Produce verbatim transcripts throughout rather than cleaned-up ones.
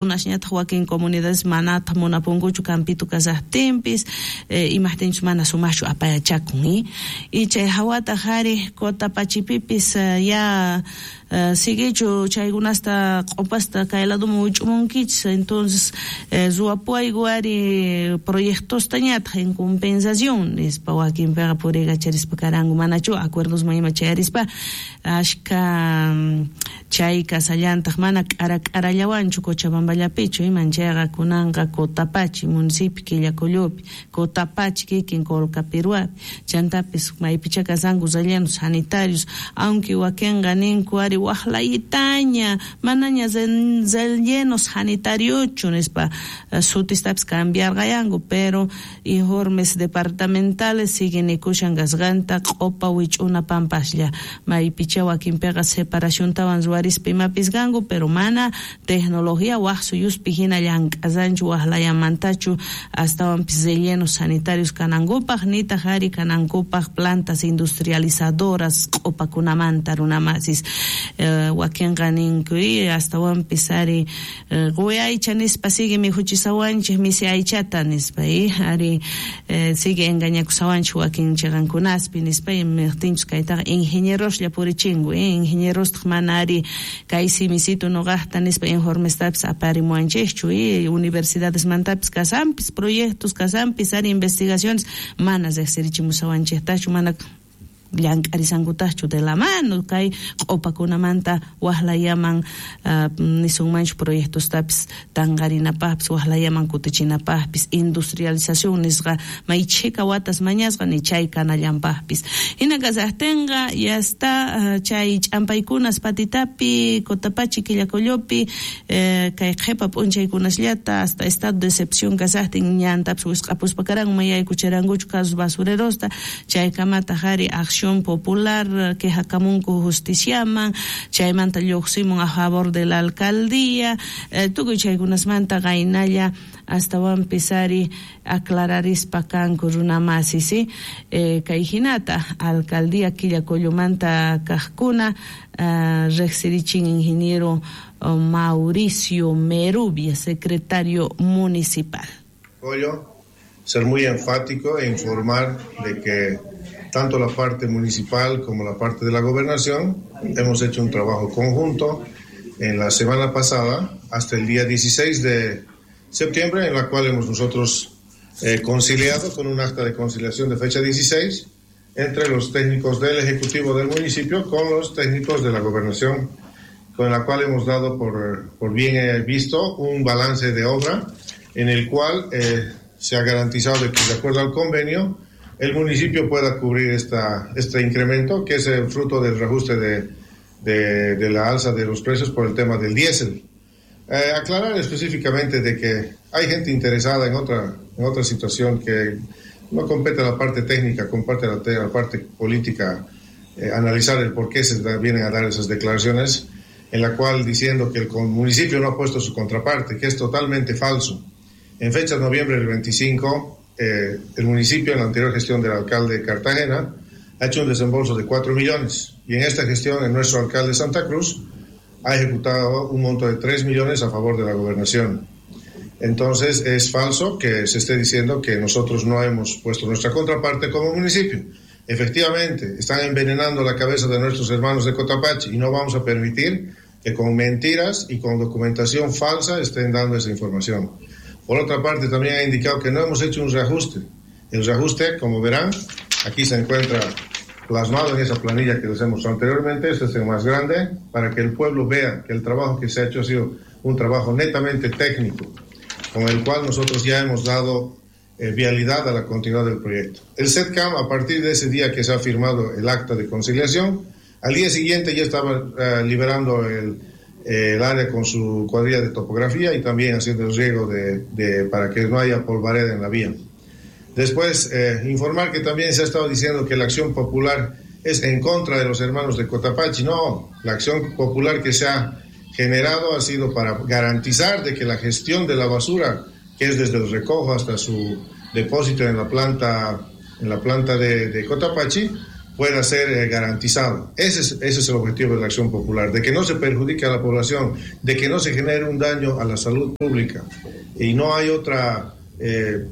Runakunasñataq wakin comunidades manataq munapunkuchu campito kasaqtinpis, eh, imajtinchus mana sumaqchu apayachakun, ¿eh? Y chay hawataq ari Cotapachipipis uh, ya uh, siguichu chaykunasta q'upasta kay ladoman wich'umunkichis, entonces eh, ruwapuwayku ari proyectostañataq en compensación nispa wakinpiqa puriykacharispa karanku manachu acuerdosman ima chayarispa ashka chay kasallantaq mana k'ara k'arallawanchu Cochabamballapichu iman chayqa kunanqa Cotapachi municipio Quillacollopi, Cotapachi kikin Colcapiruapi, chantapis maypicha kasanku rellenos sanitarios, aunque wakinqa ninku ari waqlayitaña manaña rellenos sanitariochu nispa sutistapis cambiarqayanku, pero informes departamentales siguen nikushan kasqanta q'upa wich'una pampaslla maypicha wakinpiqa separaciontawan ruwarispa imapis kanku, pero mana tecnología waq suyuspi hina llank'asanchu waqlayamantachu astawanpis rellenos sanitarios kanankupaq nitaq ari kanankupaq plantas industrializadoras q'upakunamanta runamasis, eh, wakinqa ninku astawanpis ari eh, quwi aycha nispa sigue mikhuchisawanchik misi aychata nispa, eh, ari eh, sigue engañakusawanchik wakin chiqankunaspi nispa, imaqtinchus kaytaqa ingenieroslla purichinku, eh, ingenierostaq mana ari kay simisito noqaqta nispa informestapis aparimuwanchikchu, eh, universidadesmantapis kasanpis proyectos kasanpis ari investigaciones mana riqsirichimusawanchiktachu mana llank'arisankutaqchu de la mano kay q'upakunamanta waqlayaman uh, nisunmanchu proyectostapis tanqarinapaqpis waqlayaman kutichinapaqpis industrialización nisqa may chhika watas mañasqa ni chay kanallanpaqpis. Hina kasaqtinqa ya está uh, chay ch'ampaykunas Patitapi, Cotapachi, Quillacollopi, eh, kay qhipa p'unchaykunasllata hasta estado de excepción kasaqtin ñantapis wisq'apuspa karanku mayaykucharankuchu casos basurerosta chaykamataq ari acción popular quejakamunku justiciaman chaymanta lluqsimun a favor de la alcaldía, eh, tukuy chaykunasmanta qaynalla astawanpis ari aclararispa kanku runamasi, ¿sí? Eh, kay hinata alcaldía Quillacollomanta kaqkuna uh, riqsirichin ingeniero uh, Mauricio Merubia, secretario municipal. Collo, ser muy enfático e informar de que tanto la parte municipal como la parte de la gobernación hemos hecho un trabajo conjunto en la semana pasada hasta el día dieciséis de septiembre, en la cual hemos nosotros eh, conciliado con un acta de conciliación de fecha dieciséis entre los técnicos del Ejecutivo del municipio con los técnicos de la gobernación, con la cual hemos dado por, por bien visto un balance de obra en el cual eh, se ha garantizado de que, de acuerdo al convenio, el municipio pueda cubrir esta, este incremento, que es el fruto del reajuste de, de, de la alza de los precios por el tema del diésel. Eh, aclarar específicamente de que hay gente interesada en otra, en otra situación que no compete a la parte técnica, compete a la, a la parte política, eh, analizar el por qué se da, vienen a dar esas declaraciones, en la cual diciendo que el municipio no ha puesto su contraparte, que es totalmente falso. En fecha de noviembre del veinticinco, Eh, el municipio, en la anterior gestión del alcalde de Cartagena, ha hecho un desembolso de cuatro millones y en esta gestión, en nuestro alcalde Santa Cruz, ha ejecutado un monto de tres millones a favor de la gobernación. Entonces, es falso que se esté diciendo que nosotros no hemos puesto nuestra contraparte como municipio. Efectivamente, están envenenando la cabeza de nuestros hermanos de Cotapachi y no vamos a permitir que con mentiras y con documentación falsa estén dando esa información. Por otra parte, también ha indicado que no hemos hecho un reajuste. El reajuste, como verán, aquí se encuentra plasmado en esa planilla que les hemos mostrado anteriormente. Este es el más grande, para que el pueblo vea que el trabajo que se ha hecho ha sido un trabajo netamente técnico, con el cual nosotros ya hemos dado eh, vialidad a la continuidad del proyecto. El SETCAM, a partir de ese día que se ha firmado el acta de conciliación, al día siguiente ya estaba eh, liberando el, el área con su cuadrilla de topografía y también haciendo el riego de, de, para que no haya polvareda en la vía. Después, eh, informar que también se ha estado diciendo que la acción popular es en contra de los hermanos de Cotapachi. No, la acción popular que se ha generado ha sido para garantizar de que la gestión de la basura, que es desde el recojo hasta su depósito en la planta, en la planta de, de Cotapachi, pueda ser eh, garantizado. Ese es, ese es el objetivo de la acción popular, de que no se perjudique a la población, de que no se genere un daño a la salud pública. Y no hay otra eh,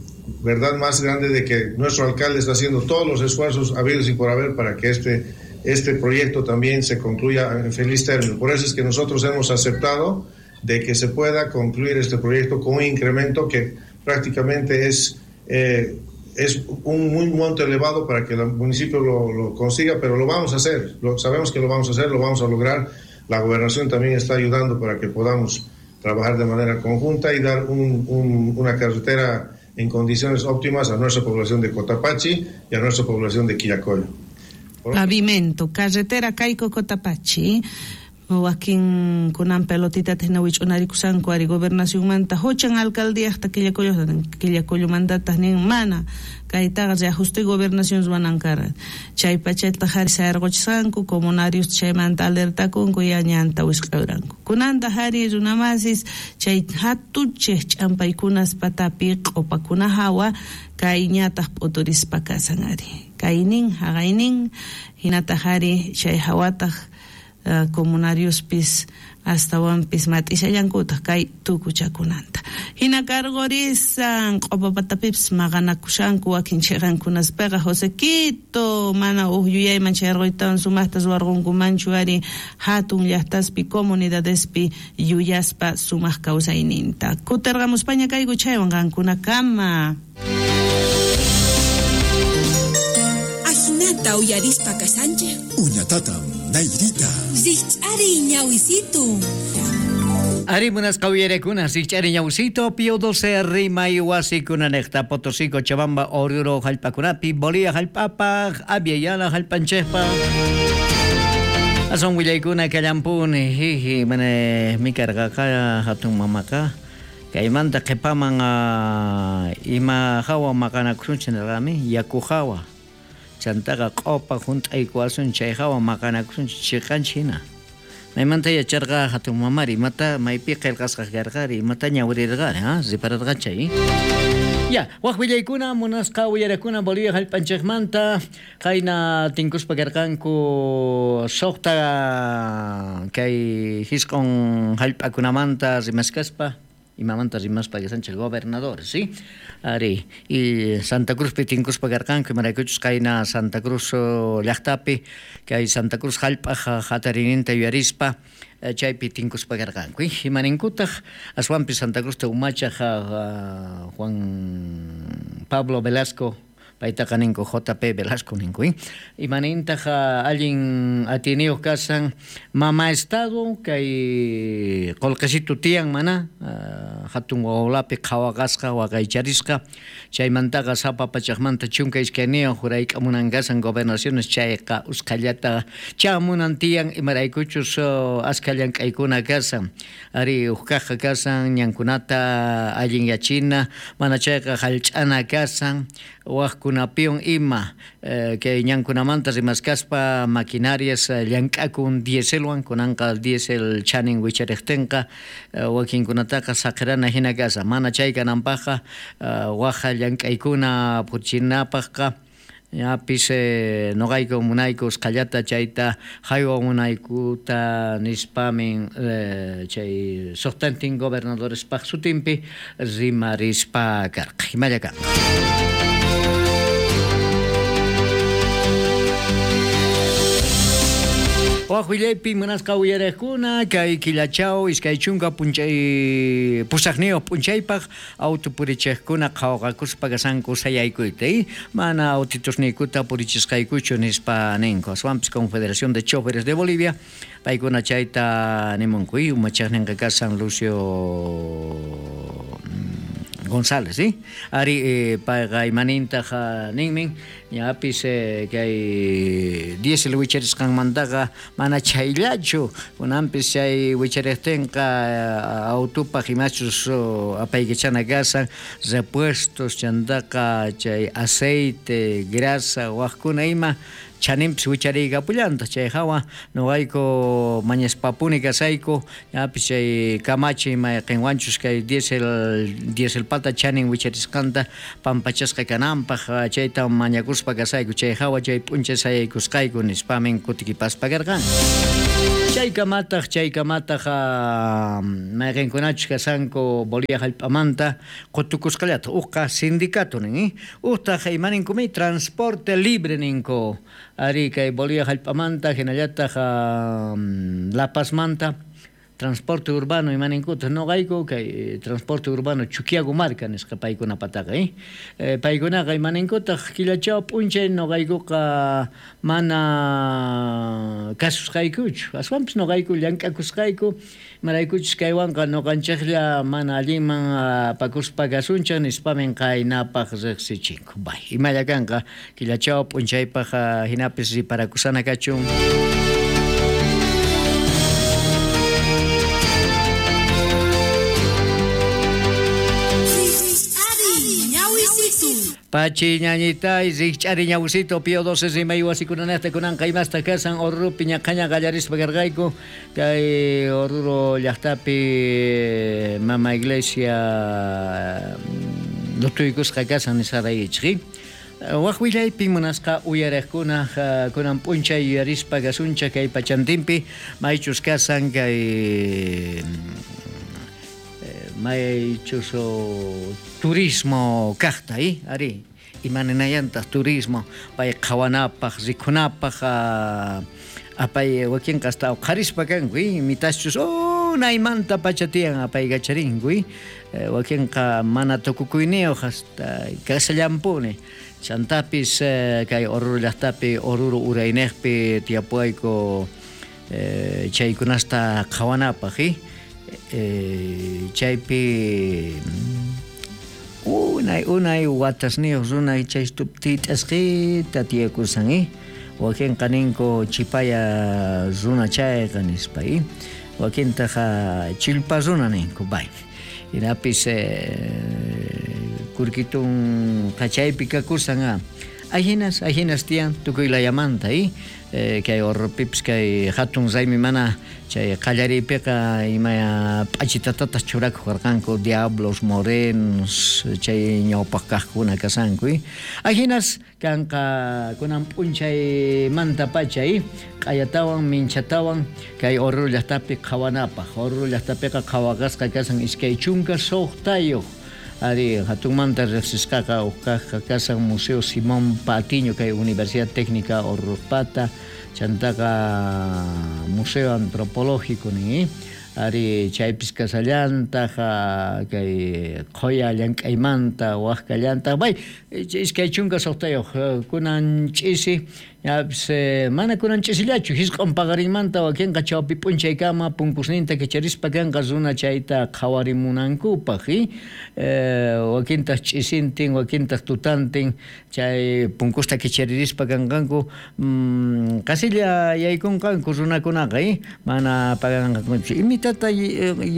verdad más grande de que nuestro alcalde está haciendo todos los esfuerzos habidos y por haber para que este, este proyecto también se concluya en feliz término. Por eso es que nosotros hemos aceptado de que se pueda concluir este proyecto con un incremento que prácticamente es... Eh, es un, un monto elevado para que el municipio lo, lo consiga, pero lo vamos a hacer, lo, sabemos que lo vamos a hacer, lo vamos a lograr. La gobernación también está ayudando para que podamos trabajar de manera conjunta y dar un, un, una carretera en condiciones óptimas a nuestra población de Cotapachi y a nuestra población de Quillacollo. Pavimento, carretera Caico-Cotapachi. Wakin kunan pelotita hina wich'unarikusanku ari gobernacionmanta huchan alcaldíajta Quillacollo Quillacollomantataq nin mana kaytaqa reajuste gobernación ruwanan kara chay pachataq ari sayarquchisqanku comunarios chaymanta alertakunku ya ñanta wisq'ayranku kunantaq ari runamasis chay hatuchej ch'ampaykunas patapi q'upakuna hawa kay ñataq p'uturispa kasan ari kaynin haqaynin hinataq ari chay hawataq Uh, comunariospis astawanpis mat'ishallankutaq kay tukuchakunanta. Hina karqurisan q'upapatapipis maqanakushanku wakin chiqankunaspiqa Josequito mana uj yuyayman chayarquytawan sumaqta ruwarqunkumanchu ari hatun llaqtaspi comunidadespi yuyaspa sumaq kawsayninta. Kutirqamuspaña kayku chaywan qankunakama. Ajinata uyarispa kashanchej. Uñatatam. Nairita. Rich'ari ñawisitu. Ari munasqa uyarekuna, rich'ari ñawisitu, Pío doce rimay wasikunanejta, Potosí, Cochabamba, Oruro jallp'akunapi, Bolivia jallp'apaj, Aviala jallp'anchejpa. Ason willaykuna kallampuni, jiji, mane mikarqaqa hatun mamaqa. Kaymanta qhipaman ima hawa maqanakusunchik nirqami, yaku hawa. Chantaqa q'upa hunt'aykuwasun chay hawa maqanakusunchik chiqanchik hina. Maymanta yacharqa hatun mamari, imata maypi qillqasqa karqari, imata ñawirirqari, ha, ripararqa chay. Ya, waq willaykuna munasqa uyarakuna Bolivia jallp'anchikmanta qayna tinkuspa karqanku suqta kay hisq'un jallp'akunamanta rimaskaspa. Imamanta rimaspa kasanchik gobernador, ¿sí? Ari, y Santa Cruzpi tinkuspa karqanku imaraykuchus qayna Santa Cruz llaqtapi kay Santa Cruz jallp'aj hatarininta yuyarispa chaypi tinkuspa karqanku. Imaninkutaq aswanpi Santa Cruzta umachaj Juan Pablo Velasco paytaqa ninku J P Velasco ninku, imanintaq allin atiniyuq kasan mama estado kay qullqisitu tiyan mana hatun wawlapi qhawaqasqa waqaycharisqa chaymantaqa sapa pachaqmanta chunka iskayniyuq hurayk'amunan kasan gobernaciones chayqa usqhallata chamunan tiyan imaraykuchus askha llank'aykuna kasan ari uqkaqqa kasan ñankunata allinyachina mana chayqa hallch'ana kasan waqkunapiwan ima kay ñankunamanta rimaskaspa maquinarias llank'akun dieselwan kunanqa diesel chanin wichariqtinqa wakinkunataqa saqirana hina kasa mana chay kananpaqqa waqa llank'aykuna purchinapaqqa yapis noqayku munayku usqhallata chayta haywa munaykuta nispamin chay suqtantin gobernadorespaq sutinpi rimarispa karqa imalla kanqa. Waq willaypi munasqa uyariqkuna kay killachaw iskay chunka p'unchay pusaqniyuq p'unchaypaq auto purichiqkuna qhawaqakuspa kasanku sayaykuyta mana autitusniykuta purichisqaykuchu nispa ninku aswanpis Confederación de Choferes de Bolivia paykuna chayta nimunku umachaqninqa kasan Lucio González, ¿sí? Ari eh, payqa imanintaq ninmin ñapis eh, kay diesel wicharisqanmantaqa mana chayllachu kunanpis chay wichariqtinqa autopaq imachus apaykachana kasan repuestos chantaqa chay aceite, grasa waqkuna ima chaninpis wichariykapullantaq chay hawa noqayku mañaspapuni kasayku ñapis chay kamachi mayqinwanchus kay diesel dieselpata chanin wicharisqanta pampachasqa kananpaq chayta mañakuspa ruwaspa kasayku chay hawa chay p'unchay sayaykusqayku nispamin kutikipaspa karqanku. Chaykamataq chaykamataq mayqinkunachus kasanku Bolivia hallp'amanta qutukusqallata uqqa sindicato nin, uqtaq imaninkumi transporte libre ninku ari kay Bolivia hallp'amanta hinallataq La Pazmanta transporte urbano imaninkuta noqayku kay transporte urbano Chuquiago marca nisqa paykunapataqa eh paykunaqa imaninkutaq killachaw p'unchay noqaykuqa mana kasusqaykuchu aswanpis noqayku llank'akusqayku imaraykuchus kaywanqa noqanchiklla mana allinman apakuspa kasunchik nispamin qaynapaq riqsichinku. Bay imalla kanqa killachaw p'unchaypaq hinapis riparakusana kachun. Pachi ñañitay rikch'ari ñawsito pío doce rimay wasikunanaqta kunanqa imasta kasan Oruropi ñaqhaña qallarispa karqayku kay Oruro llaqtapi mama iglesia lutuykusqa kasan nisqaraykichik. Waq willaypi munasqa uyariqkuna kunan p'unchay yuyarispa kasunchik kay pachantinpi maychus kasan kay maychus turismo kaqta eh ari imaninayantaq turismo pay qhawanapaq rikhunapaq apay wakinqa hasta uqharispa kanku mitachus unaymanta pacha tiyan apaykacharinku wakinqa mana tukukuyniyuq hasta kasallampuni chantapis kay Oruro llaqtapi Oruro urayniqpi tiyapuayku chaykunasta qhawanapaq eh chaypi unay unay watasniyuq runa chay tit'asqita tiyakusan eh wakinqa ninku chipaya runa chayqa nispa eh wakintaqa chillpa runa ninku bay hinapis kurkitun qachaypi kakusan a ahinas ahinas tiyan tukuy layamanta eh kay Orropipis kay hatun raymi mana chay qallariypiqa ima p'achitatataq churakuq karqanku diablos morenos chay ñawpaq kaqkuna kasanku ahinas kanqa kunan p'unchaymanta pacha q'ayatawan minchatawan kay Oruro llaqtapi qhawanapaq. Oruro llaqtapiqa qhawaqasqa kasan iskay chunka suqtayuq ari hatunmanta riqsisqaqa uqkaqqa kasan Museo Simón Patiño kay Universidad Técnica Orropata chantaqa Museo Antropológico nin ari chaypis kasallantaq kay qhuya llank'aymanta waqkallantaq bay iskay chunka suqtayuq kunan ch'isi ñapis mana kunan ch'isillachu hisq'un paqarinmanta wakinqa chawpi p'unchaykama punkusninta kicharispa kanqa runa chayta qhawarimunankupaq wakintaq ch'isintin wakintaq tutantin chay punkusta kicharirispa kanqanku qasilla yaykunqanku runakunaqa mana paganqankuchu imitata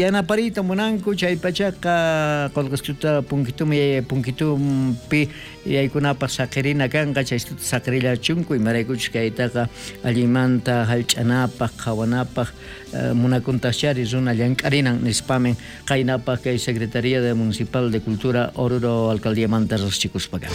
yanapariyta munanku chay pachaqa qullqistuta punkitumi punkitumpi yaykunapaq saqirina kanqa chaystuta saqirillachunku imaraykuchus kaytaqa allinmanta hallch'anapaq qhawanapaq munakuntaqchari runa llank'arinan nispamin qaynapaq kay Secretaría de Municipal de Cultura Oruro Alcaldiamanta riqsichikuspa kan.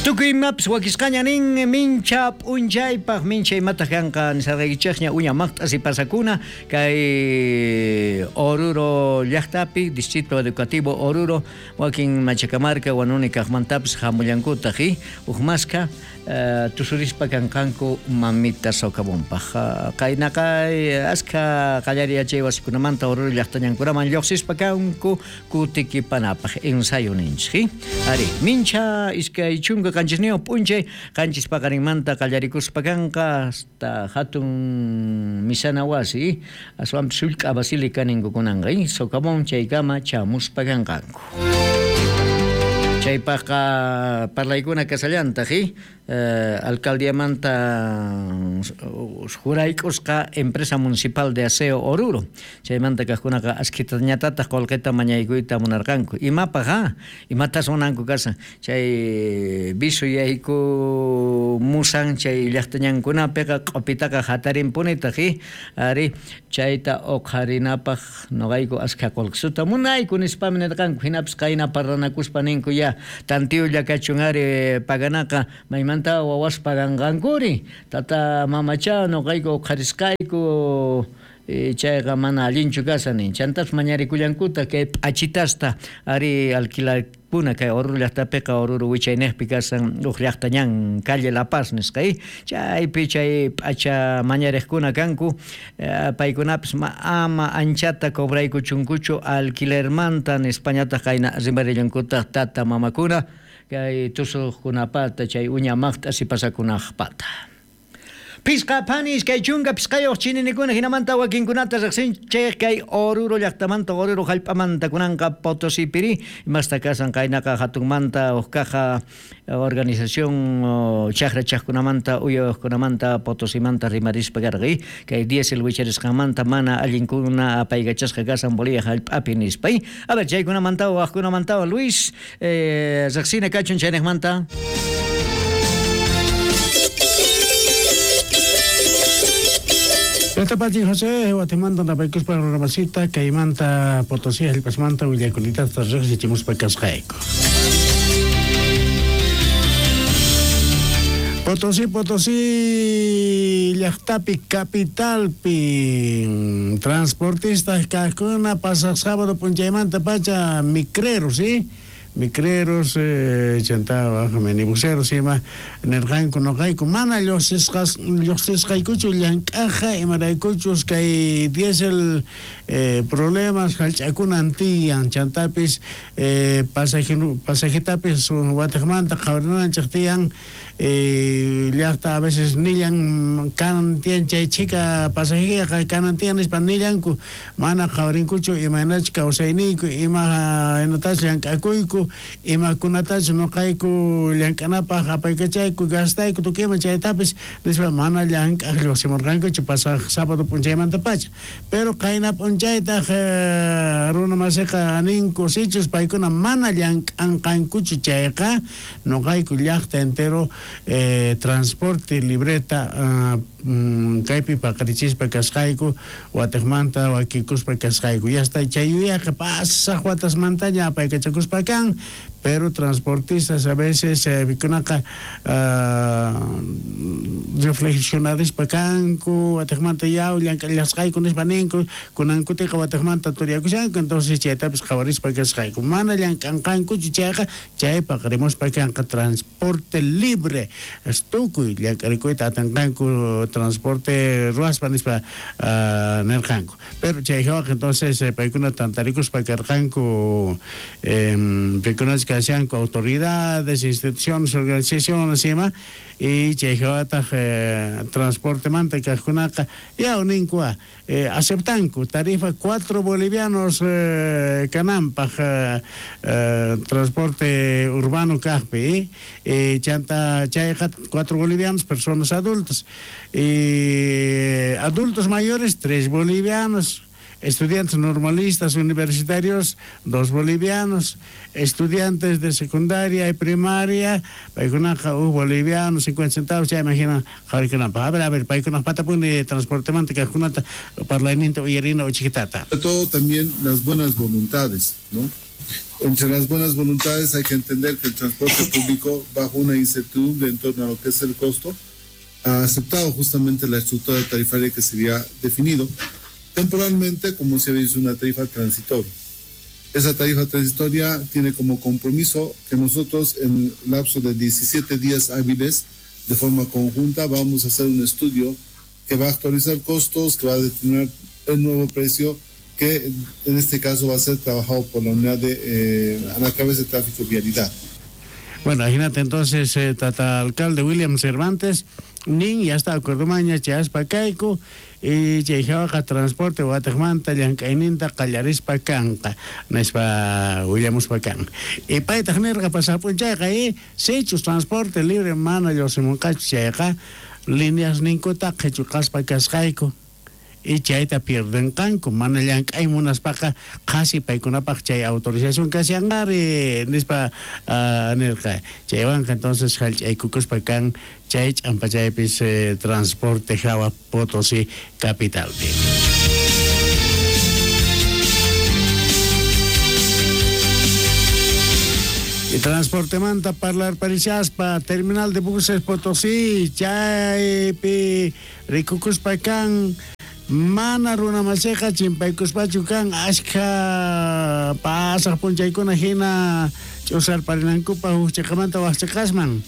Tukuy imapis wakisqaña nin mincha p'unchaypaq mincha imataq kanqa nisarqaykichikña uña maqt'asi pasakuna kay Oruro llaqtapi Distrito Educativo Oruro wakin Machacamarca Huanuni kaqmantapis hamullankutaq huk maska tusurispa kanqanku mamita socavonpaq qaynaqa askha qallariy yachay wasikunamanta Oruro llaqtañankunaman lluqsispa kanku kutikipanapaq ensayo ninchik ari mincha iskay chunka qanchisniyuq p'unchay qanchis paqarinmanta qallarikuspa kanqa hasta hatun misana wasi aswanpis sullk'a basílica ninkukunanqa socavón chaykama chamuspa kanqanku. Chaypaqqa parlaykuna kasallantaq, eh, alcaldiamanta jurayk'usqa empresa municipal de aseo Oruro. Chaymanta kaqkunaqa askitañatataq qullqita mañaykuyta munarqanku. Imapaq ha? Imatas munanku kasan? Chay viso yayku musan chay llaqtañankunapiqa q'upitaqa hatarinpunitaq, ari chayta uqharinapaq noqayku askha qullqisuta munayku nispami nirqanku. Hinapis qayna parlanakuspa ninku ya tantiyulla kachun ari paganaqa maymanta wawas paganqankuri tata mamacha noqayku uqharisqayku chayqa mana allinchu kasan nin. Chantas mañarikullankuta kay p'achitasta ari alquilarkuna kay Oruro llaqtapiqa Oruro wichayniqpi kasan uq llaqtañan calle La Paz nisqa, chaypi chay p'acha mañariqkuna kanku, paykunapis ama anchata cobraykuchunkuchu alquilermanta nispañataq qayna rimarillankutaq tata mamakuna kay tusuqkunapata chay uña maqt'a sipasakunaqpata. Pisqa panis kay chunka pisqayuq chininikuna hinamanta wakinkunata riqsinchik kay Oruro llaqtamanta Oruro hallp'amanta kunanqa Potosipiri imasta kasan qaynaqa hatunmanta uqkaqa organización chaqra chaqkunamanta uyawaqkunamanta Potosimanta rimarispa karqi kay diésel wicharisqanmanta mana allinkuna apaykachasqa kasan Bolivia hallp'api nispa. A ver chaykunamanta waqkunamanta Luis eh, riqsina kachun chayniqmanta. Esta José, Guatemala, Napaycuspa, Roramasita, Caimanta, Potosí, El Pasmanta, Villaculita, Tarrejas y Chimuspa, Casjaico. Potosí, Potosí, llaqtapi, capitalpi, transportistas, Cajuna, pasa sábado, Punchaymanta, Pacha, micreros, ¿sí? Micreros, eh, chantaba, minibuseros, ima, nirqanku noqayku, mana lluqsisqas, lluqsisqaykuchu llank'aja, imaraykuchus kay diésel eh, problemas hallch'akunan tiyan, chantapis eh, pasaje, pasajetapis watiqmanta qhawarinanchik tiyan, eh, llaqta a veces nillan kanan tiyan chay chika pasajeqa kanan tiyan nispa nillanku, mana qhawarinkuchu imaynachu kawsayniyku, ima inatachu llank'akuyku, imakunatachu noqayku llank'anapaq apaykachayku gastayku tukuyman chaytapis nispa mana llank'aq lluqsimurqankuchu pasaq sábado p'unchaymanta pacha. Pero qayna p'unchaytaq eh, runa masiqa ninku sichus paykuna mana llank'anqankuchu chayqa noqayku llaqta entero eh, transporte libreta uh, mm, kaypi paqarichispa kasqayku watiqmanta wakikuspa kasqayku ya está chay yuyaqa pasaq watasmantaña apaykachakuspa kan. Pero transportistas a veces pikunaqa eh, reflexionarispa kanku watiqmanta yaw llank'allasqayku nispa ninku kunankutiqa watiqmanta turiakushanku entonces chaytapis qhawarispa kasqayku mana llank'anqankuchu chayqa chay paqarimuspa kanqa transporte libre tukuy llank'arikuyta atinqanku transporte ruwaspa nispa uh, nirqanku. Pero chay hawaqa entonces paykuna tantarikuspa karqanku eh, pikunas kashanku autoridades, instituciones, organizaciones ima y chay hawataq eh, transporte manta kaqkunaqa yaw ninkua eh, aceptanku tarifa cuatro bolivianos eh, kananpaq eh, eh, transporte urbano kaqpi eh, chanta chayqa cuatro bolivianos personas adultas y adultos mayores tres bolivianos, estudiantes normalistas universitarios dos bolivianos, estudiantes de secundaria y primaria paykunaqa huk boliviano cincuenta centavos ya imagina qharikunapaq. A ver, a ver, paykunaq patapuni transportemanta kaqkunata parlayninta uyarina uchikitata. Sobre todo también las buenas voluntades, ¿no? Entre las buenas voluntades hay que entender que el transporte público, bajo una incertidumbre en torno a lo que es el costo, ha aceptado justamente la estructura tarifaria que se había definido temporalmente como se había dicho una tarifa transitoria. Esa tarifa transitoria tiene como compromiso que nosotros en el lapso de diecisiete días hábiles, de forma conjunta, vamos a hacer un estudio que va a actualizar costos, que va a determinar el nuevo precio, que en este caso va a ser trabajado por la unidad de eh, a la cabeza de tráfico y vialidad. Bueno, imagínate entonces, eh, tata alcalde William Cervantes, nin ya está acuerdo maña, chaspa caico, Y chay hawaqa transporte watiqmanta llank'ayninta qallarispa kanqa nispa willamuspa kan. Y paytaq nirqa pasaq p'unchayqa y sichus transporte libre mana lluqsimunqachu chayqa líneas ninkuta qhichuqaspa kasqayku y chayta pierdenqanku mana llank'ay munaspaqa qhasi paykunapaq chay autorización kashanqari nispa uh, nirqa chaywanqa entonces hallch'aykukuspa kan chay ch'ampachaypis eh, transporte hawa Potosí capitalpi. Y transportemanta parlar parishaspa terminal de buses Potosí chaypi rikukuspa kan mana runamasiqa chimpaykuspachu kan ashkha pasaq p'unchaykuna hina ch'usarparinankupaq huk chiqamanta wak chiqasman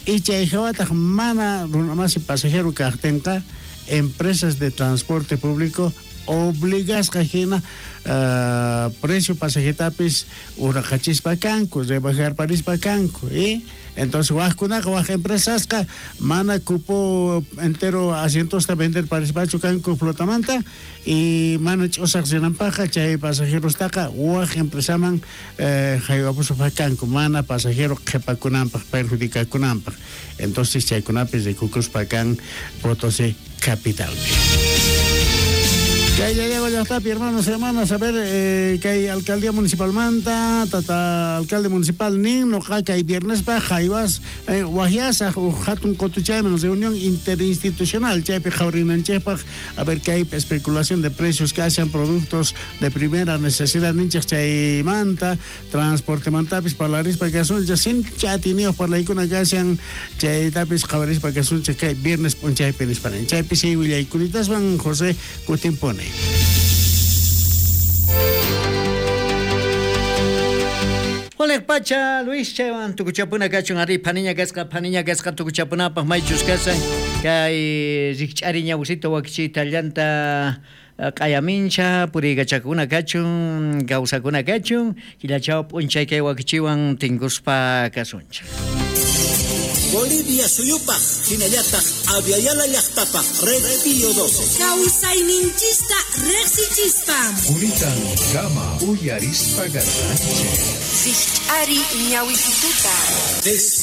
y chay hawataq mana runamasi pasajero kaqtinqa empresas de transporte público obligasqa hina uh, precio pasajetapis uraqachispa kanku rebajarparispa kanku ¿eh? Entonces wajkunaqa waj empresasqa mana cupo entero asientosta vender parispachu kanku flotamanta y mana ch'usaq rinanpaqqa chay pasajerostaqa waj empresaman eh, haywapuspa kanku mana pasajero qhipakunanpaq perjudicakunanpaq. Entonces chaykunapis rikukuspa kan Potosí capitalpi. Kay Llallagua llaqtapi, hermanos y hermanas, a ver, eh, kay alcaldía municipal manta, tata alcalde municipal nin, noqa kay viernespa jaywas, eh, wahyasaq uj hatun qotuchayman reunión interinstitucional, chaypi qhawrinanchikpaq, a ver kay especulación de precios kashan productos de primera necesidad ninchik chaymanta, transportemantapis parlarispa kasunchik, sincha atiniyuq parlaykuna kashan, chaytapis qhawarispa kasunchik kay viernes p'unchaypi nispa nin. Chaypi si willaykulitaswan José kutimpuni. Oleg Pacha, Luis chaywan tukuchapuna kachun ari phaniña kasqa phaniña kasqa tukuchapunapaq maychus kasan kay rikch'ari ñawsito wakichiyta llanta q'ayamincha puriykachakuna kachun kawsakuna kachun killachaw p'unchay kay wakichiwan tinkuspa kasunchik. Bolivia suyupaq hinallataq Aviala llaqtapaq Red Pío doce. Kawsayninchista riqsichispa. Quritan kama uyarispa garranchik. Rikch'ari ñawisituta.